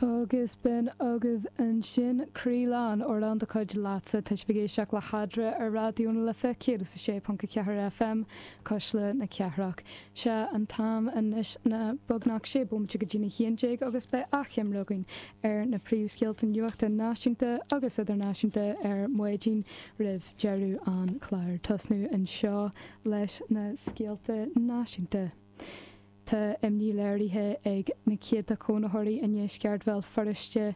Agus b'in agaibh ansin Croí Lán, amhrán de chuid Leatsa. Tá sibh ag éisteacht le hEadra ar Raidió na Life 106.4 FM, Cuisle na Cathrach. Sé an t-am anois ná beagnach sé bomaite go dtí'n 11 agus beidh achoimre againn ar na príomhscéalta nuachta náisiúnta agus idirnáisiúnta ar maidin roimh deireadh an chláir. Tosnú anseo leis na scéalta náisiúnta. Tá imní léirithe ag na céadta cónaitheoirí i ndeisceart Bhéal Feirste.